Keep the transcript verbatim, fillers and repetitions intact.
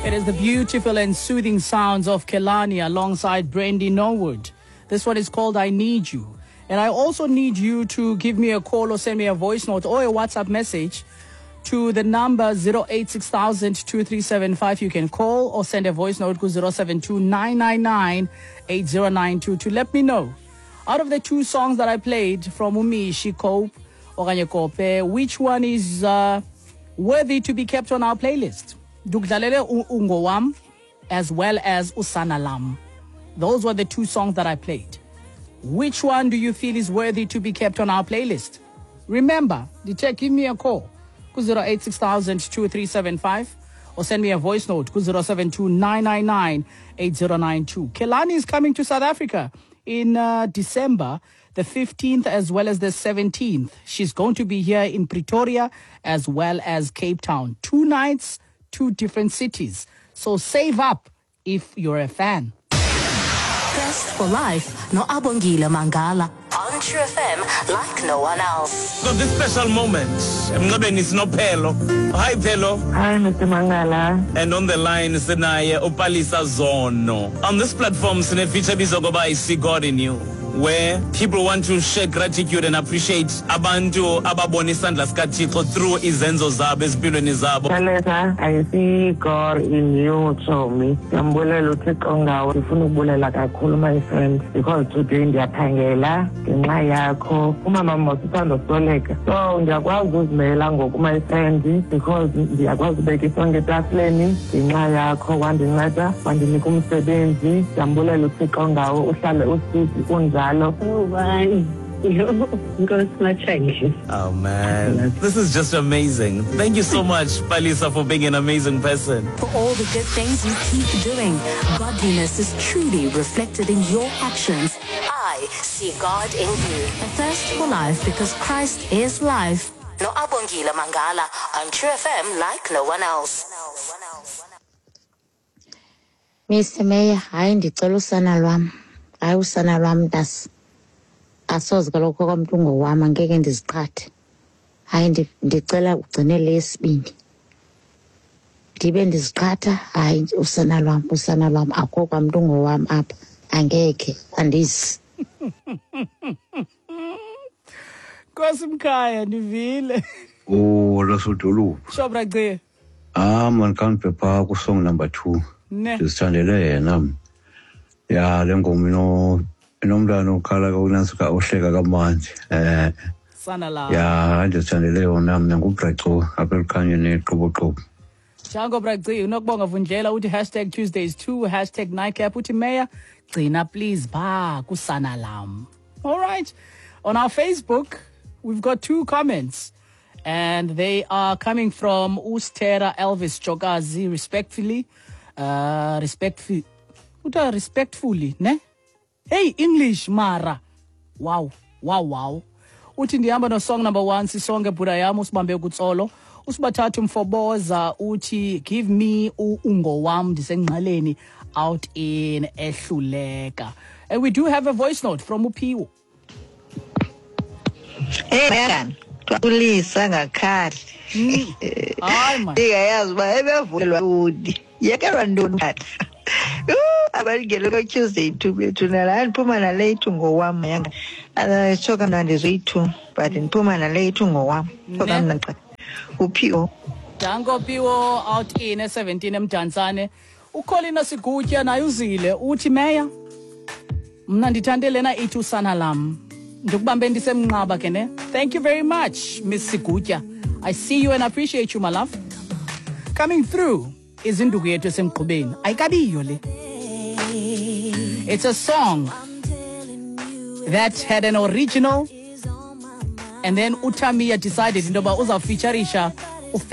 It is the beautiful and soothing sounds of Kelani alongside Brandy Norwood. This one is called I Need You. And I also need you to give me a call or send me a voice note or a WhatsApp message to the number zero eight six thousand two three seven five. You can call or send a voice note to zero seven two nine nine nine eight zero nine two to let me know. Out of the two songs that I played from Umishi, Cope, okanye Kope, which one is uh, worthy to be kept on our playlist? Ndikudlalele Ungowam as well as Usana Lam. Those were the two songs that I played. Which one do you feel is worthy to be kept on our playlist? Remember, the give me a call zero eight six thousand two three seven five or send me a voice note zero seven two nine nine nine eight zero nine two. Kelani is coming to South Africa in uh, December, the fifteenth as well as the seventeenth. She's going to be here in Pretoria as well as Cape Town. Two nights, two different cities. So save up if you're a fan. Best for Life, no Abongile Mangala. On True F M, like no one else. So this special moment, Mngabeni Sinophelo. Hi, Phelo. Hi, Mister Mangala. And on the line, sinaye uPalisa Zono. On this platform, sine feature bizogoba I See God in You, where people want to share gratitude and appreciate abantu ababona isandla sikaThixo through izenzo zabo ezimpilweni zabo. Palesa, I see God in you, Chomi. Ndiyambulela uThixo ngawe. Ndifuna ukubulela kakhulu, my friend, because today ndiyaphangela ngenxa yakho. Umama mos uthanda usweleka. So ndiyakwazi uzimela ngoku, my friend, because ndiyakwazi ubeka isonka etafileni ngenxa yakho. Wandinceda, wandinika umsebenzi. Ndiyambulela uThixo ngawe, uhlale usizi unjalo. Oh, bye. Oh man, this is just amazing. Thank you so much, Palisa, for being an amazing person. For all the good things you keep doing, godliness is truly reflected in your actions. I see God in you. A thirst for life because Christ is life. No Abongile Mangala on True F M like no one else. Mister Mayor, hayi ndicela usana lwam. Hayi usana lwam ntasi. Asoze kaloku okwamntu ungowam, angeke ndiziqhathe. Hayi ndicela ugcinele esibini. Ndibe ndiziqhatha, hayi usana lwam, usana lwam akho kwamntu ungowam apha. Angeke, andizi. Nkosi mkhaya, ndivile. Oh, lasodolophu. Sho bra Gci. Ah man, kanti pha ku song number two. Ndizithandele yena. Ya le ngoma ino inomntana okhala kakunansi ohleka kamandi. Eh sana la. Ya ndizithandele yona mna nguBraco apha elukhanyeni eqoboqobo. Jango bra Gci, unokubonga Vundlela uthi hashtag Tuesdays two, hashtag nightcap uthi Mayor, gcina please ba kusana lam. All right. On our Facebook, we've got two comments and they are coming from Ustera Elvis Jogazi, respectfully, uh respectfully Uta respectfully, ne? Hey, English mara. Wow, wow, wow. Uthi ndihamba no song number one, sisonke bhuda yam usibambe kutsolo. Usibathathu mfoboza uthi give me ungowam ndisengqaleni out in Ehluleka. And we do have a voice note from Uphiwo. Hey, man. Ulisa ngakhali. Hayi man. Ndingayazi uba ebevulelwa udi. Yekelwa ntoni tata? Abalingele ko-Tuesday two bethu nala ndiphuma nale ithu ngowam yanga. Tsho kamnandi zoyi-two but ndiphuma nale ithu ngowam. Tsho kamnandi xa. Uphiwo. Danko Phiwo out in seventeen eMdantsane. Ukholina Sigutya naye uzile uthi Mayor, mna ndithande lena ithi usana lam. Ndikubambe ndisemnqaba ke ne. Thank you very much, Miss Sigutya. I see you and appreciate you, my love. Coming through is induku yethu esemgqubeni. Ayikabiyo le. It's a song that had an original and then uTamia decided into yoba uzawufeaturisha